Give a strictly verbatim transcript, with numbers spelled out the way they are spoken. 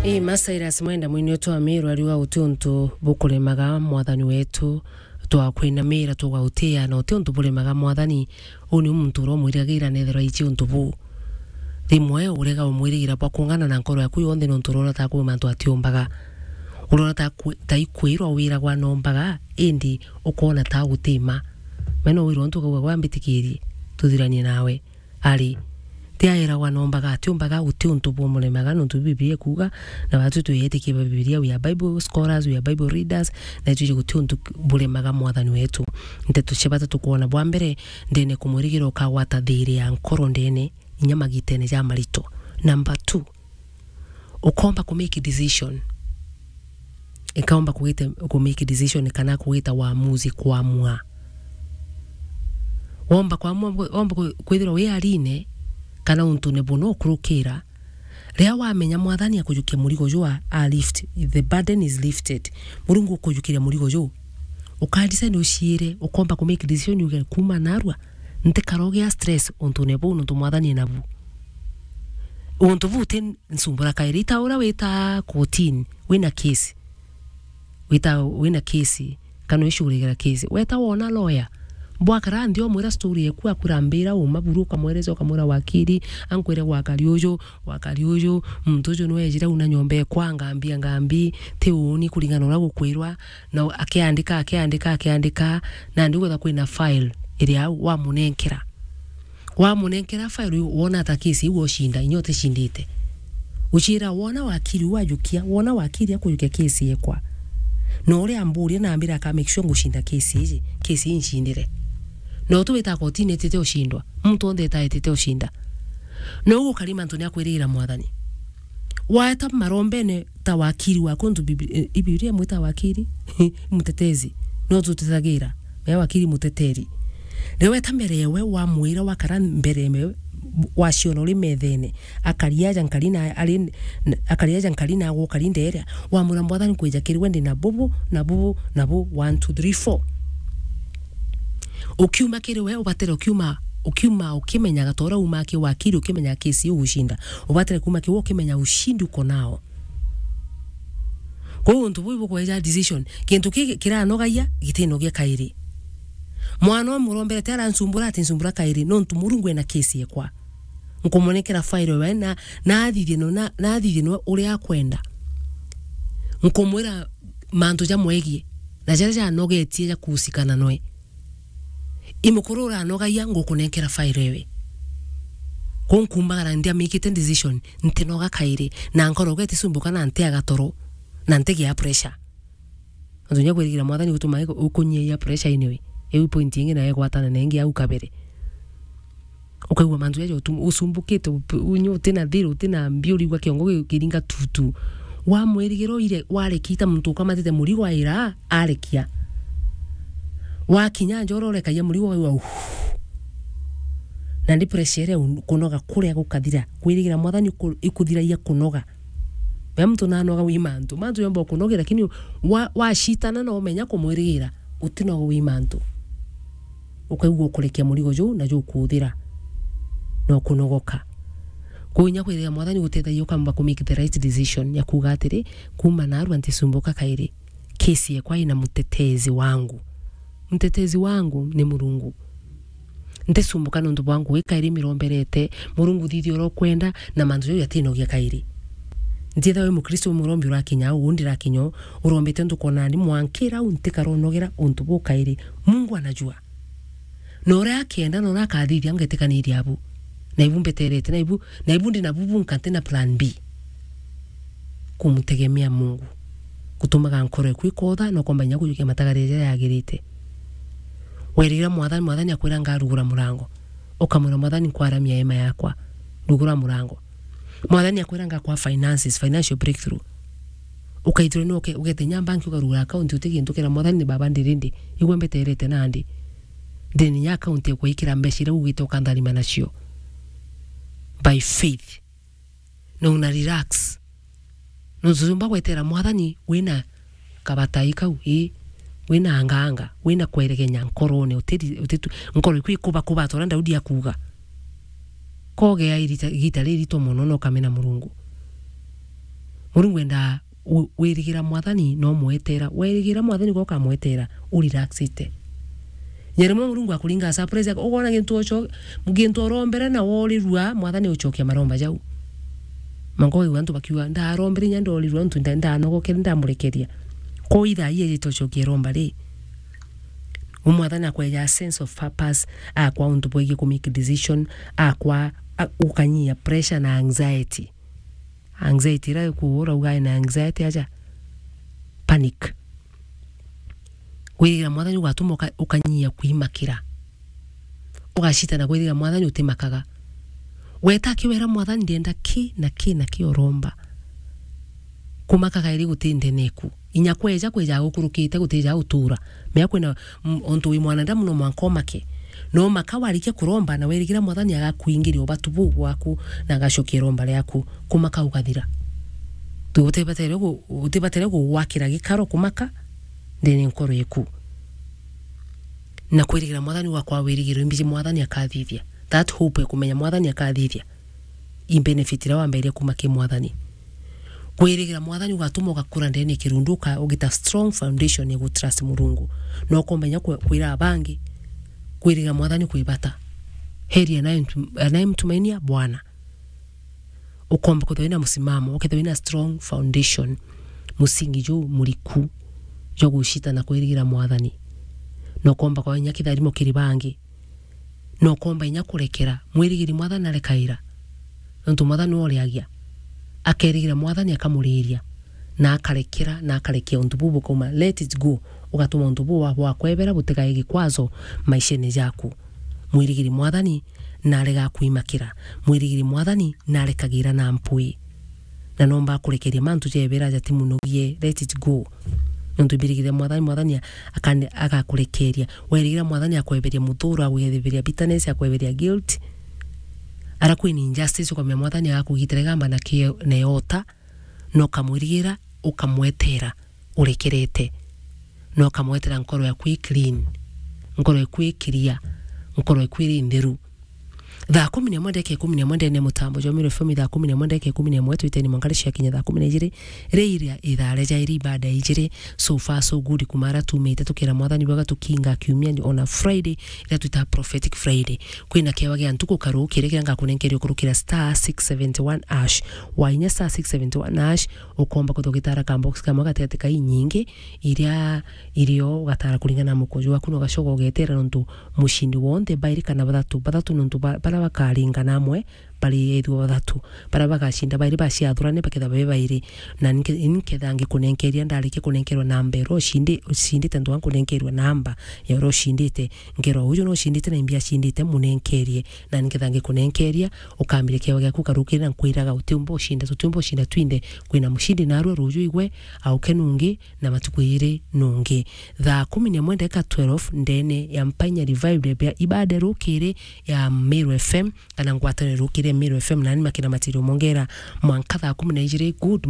Ii, ma Cyrus Mwenda, mwini wetu wa Miru, ariuga, "Guti untu bukuremaga Mwathani wetu, twakwinamira, tugautia, na uti untu buremaga Mwathani." Uu ni muntu uria umwiragira nethirwa aici untu buu. Rimwe urega umwirigira bwa kung'ana na nkoro yaku yonthe, nontu urona ta kwi mantu atiumbaga. Urona ta kwi-, ta ikwirwa wiragwa nombaga, indi ukoona ta guti mma. Mena wirwa untu ukauga, "Gwa mbitikirie, tuthiranie nawe." Ari, ti aeragwa nombaga, atiumbaga, guti untu bumuremaga, nontu Biblia ikuuga, na batwi twiyetikia ba Biblia, we are Bible scholars, we are Bible readers, na itwiji guti untu buremaga Mwathani wetu. Nteto cia bata tukwona, bwa mbere, ndene kumwirigira ukagwata thiiri ya nkoro ndene, inya magitene ja marito. Number two, ukomba ku make decision. Ikaomba kugita, ku make decision kana kugita waamuzi, kwamua. Womba kwamua, womba ku-, kwithirwa wi arine kana untune buna ukurukira, riria wamenya Mwathani akujukia murigo juu, a, a lift, the burden is lifted. Murungu ukujukiria murigo juu. Ukadecide uciire, ukomba ku make decision uge, "Kuuma narua, ntikarogia stress untune buu, nontu Mwathani e nabu." Untu buu ti nsumbura kairi. Ita uria wita kotini, wina case. Wita, wina case, kana wicugurigira case. Weta wona lawyer. Bwakara nthi, umwira story eku, akwira, "Mbira uma buru," ukamwereza, ukamwira, "Wakiri, ankwire gwakari uju, gwakari uju, muntu uju nwejire una nyomba ekwa, ngambi, ngambi, ti uuni kuringana na uria gukwirwa." Na akiandika, akiandika, akiandika, nandi ugetha kwina file iria au wamunenkera. Wamunenkera file iu, wona ta case iu ucinda, inya uticindite. Uciira, wona wakiri uu ajukia, wona wakiri akujukia case yekwa. Na uria amburia na ambira aka make sure ngucinda case iji, case ii ncindire. Na utu wita kotini etite ucindwa, muntu onthe eta etite ucinda. Na uu ukari mantu ni akwirigira Mwathani. Waeta marombene ta wakiri waku, ntu Bibli-, eh, i Biblia imwita wakiri, mutetezi. No tutetagira. Mea wakiri muteteri. Riria weta mbere ewe, wamwira, wakara mbere ewe, waciona uri methene. Akari aja nkari na ari, akari aja nkari na agwo kari nderia. Wamwira, "Mwathani, kwija kiri we ndi na bubu, na bubu, na bu, one, two, three, four." Ukiuma kiri we, ubatire ukiuma, ukiuma ukimenyaga ta uria umaa ki wakiri, ukimenyaga case iu ugucinda. Ubatire kuuma ki we ukimenya ushindi uko nao. Kwou untu buu bukweja decision. Kintu ki kiranogagia, gitinogia kairi. Mwana umwe uromberete aransumbura, atinsumbura kairi, nontu Murungu ena case ekwa. Nkumonekera file we na, na athithie no, na, na athithie no uria akwenda. Nkumwira mantu jamwegie, na jaria janogetie ja kuhusikana noe. I mukuru uranogagia, ngukunenkera file ewe. Kwou nkumbagara ndi amikite decision, ntinoga kairi, na nkoro getisumbuka na ntiaga toro, na ntigia pressure. Nontu kinya kwirigira Mwathani gutuma iku-, ukunyiia pressure anyway. Iu point ingi nayo igwatana na ingi au kabere. Ukaigua mantu jaja utu-, usumbukite, up-, unyu utina thiiri, utina mbi, urigua kiongo gi-, kiringa tutu. Wamwirigira uire, warekia ta muntu ukamatite murigo aira, arekia. Wakinya nja urorekagia murigo, ukaigua, "Uff." Nandi pressure iria un-, kunoga kuria gukathira. Kwirigira Mwathani iku-, ikuthiragia kunoga. Mea muntu nanoga wi mantu. Mantu yomba ukunogia, lakini wa-, wacitana na umenya kumwirigira, utinoga wi mantu. Ukaigua ukurekia murigo juu na jukuuthira. Na ukunogoka. Kwou inya kwirigira Mwathani gutethagia ukamba ku make the right decision ya kuuga atiri, "Kuuma narua ntisumbuka kairi. Case yekwa ina mutetezi wangu." Mutetezi wangu ni Murungu. Ntisumbuka nontu bwa ngugi kairi miromberete. Murungu, thithia uria ukwenda, na mantu jau jatinogia kairi. Ntiethagwa wi Mukristo, wi murombi urakinya au, uu ndirakinya uu, urombete untu kwona ni mwankira au, ntikaronogera untu buu kairi. Mungu anajua. Na uria akenda, na uria akathithia, ngetikaniria abu. Na ibu mbeterete, na ibu, na ibu ndi na bubu nka ntina plan B. Kumutegemea Mungu gutumaga nkoro eku ikotha, na ukomba inya kujukia matagaria jaria yagirite. Werira Mwathani, Mwathani akwira, "Ngarugura murango." Ukamwira, "Mwathani, nkwaramia hema yakwa, rugura murango." Mwathani akwira, "Ngakwa finances, financial breakthrough." Ukaithirwa ni uke-, ugete nya banki ukarugura account uti gintu, ukera Mwathani, "Ni baba ndiri ndi, igua mbeterete nandi. Ndiri ni nya account ya kwikira mbeca iria ugite ukantharima nacio." By faith. Na una relax. Nontu jumba gwetera Mwathani wina kabatai kau, ii, wina anganga, wina kweregenya nkorone, utiri-, utitu-, nkoro iku ikubakuba ta uria Daudi akuuga. Kogea irita-, igita ririto mono na ukamena Murungu. Murungu endaa u-, wirigira Mwathani no mwetera. Wirigira Mwathani ko kamwetera, u relaxite. Nya rimwe Murungu akuringa surprise, ukoona gintu ocho-, gintu urombere na worirua, Mwathani ucokia maromba jau. Mango igua antu bakiuga, "Ndarombere inya ndorirua, ntu nda-, ndanogokere, ndamurekeria." Ko ithaa ii ejite ucokia iromba ri. U Mwathani akweja sense of purpose, akwa untu bwegi ku make decision, akwa, a-, ukanyia pressure na anxiety. Anxiety ira ikuura ugae na anxiety aja. Panic. Kwirigira Mwathani ugatuma uka-, ukanyia kwimakira. Ugacita na kwirigira Mwathani utimakaga. Weta akiwera Mwathani, "Ndienda ki na ki na ki uromba." Kumaka kairi guti ndene eku. Inya kweja, kweja gukurukite, gutija utura. Mea kwina, m-, ontu wi mwanadamu no mwanka umake. No maka warikia kuromba na wirigira Mwathani agakuingiria ubatu buu bwaku na agacokia iromba riaku. Kumaka ugathira. Tu-, utibatere gu-, utibatere gugwakira gikaro kumaka ndene nkoro eku. Na kwirigira Mwathani gwakwa wirigiro imbiji Mwathani akathithia. That hope ya kumenya Mwathani akathithia. I benefit iria wamberia kuma ki Mwathani. Kwirigira Mwathani ugatuma ugakura ndene kirundu, uka-, ugita strong foundation ya gutrust Murungu. Na ukomba inya kwe-, kwira abangi, kwirigira Mwathani kwi bata. Heri anayemtu-, anayemtumainia Bwana. Ukomba kwithirwa wina musimamo, ukethirwa wina strong foundation, musingi juu muriku jwa gucita na kwirigira Mwathani. Na ukomba kwa inya kitharimo kiri bangi. Na ukomba inya kurekera. Mwirigiri Mwathani arekaira. Nontu Mwathani niwe uriagia. Akerigira Mwathani akamuriria. Na akarekera, na akarekia untu buu bukauma. Let it go. Ugatuma untu buu bwa-, bwakwebera butigae gikwazo maishene jaku. Mwirigiri Mwathani narega kwimakira. Mwirigiri Mwathani narekagira na mpwi. Na nomba kurekeria mantu jebera jati munogie, let it go. Nontu mbirigire Mwathani, Mwathani akane-, agakurekeria. Werigira Mwathani akweberia muthuro, akweberia bitterness, akweberia guilt. Ara kwina injustice, ukamenya Mwathani agakugitira igamba na ki-, na iota, na ukamwirigira, ukamwetera, urekerete. Na ukamwetera nkoro yaku i clean, nkoro yaku i clear, nkoro yaku iri ntheru. Thaa kumi na imwe ndeka ikumi na imwe ndene mutambo jwa Meru F M, thaa kumi na imwe ndeka ikumi na imwe twiteni mwanka cia kinya thaa kumi na ijiri, ri iria ithaa ria jairi ibada ijiri. So far so good, kuma ara tumite tukira Mwathani bwega tukinga kiumia on a Friday, iria twita prophetic Friday. Kwina kewa gia ntuku karukire kiria ngakunenkeria ukurukira star six seventy one hash. Wainya star six seventy one hash, ukomba kwithirwa ugitara ka box kamwe gatigati ka inyingi iria irio ugatara kuringana na mukojo waku, na ugacoka ugetera nontu mucindi wonthe bairi kana bathatu, bathatu nontu ba-, baria bakaringana amwe bari ethirwa bathatu, baria bagacinda bairi baciathurane bakethirwa be bairi. Na ninke-, nketha ngikunenkeria, ndarikia kunenkerwa namba iria ucindi-, ucindite, ntwa nkunenkerwa namba ya uria ucindite, nkerwa uju no ucindite na imbi acindite, munenkerie. Na nketha ngikunenkeria, ukambire kiewa giaku ukarukirira, nkwiraga utiumba ucinda, tutiumba ucinda twinthe. Kwina mucindi narua ruju igwe, auke nungi, na matuku iri nungi. Thaa kumi na imwe ndeka twelve ndene ya Mpainya Revival ya ibada rukiri ya Meru F M, kana ngwataniro rukiri ya Meru F M, nani makina matirio mongera mwanka thaa kumi na ijiri. Good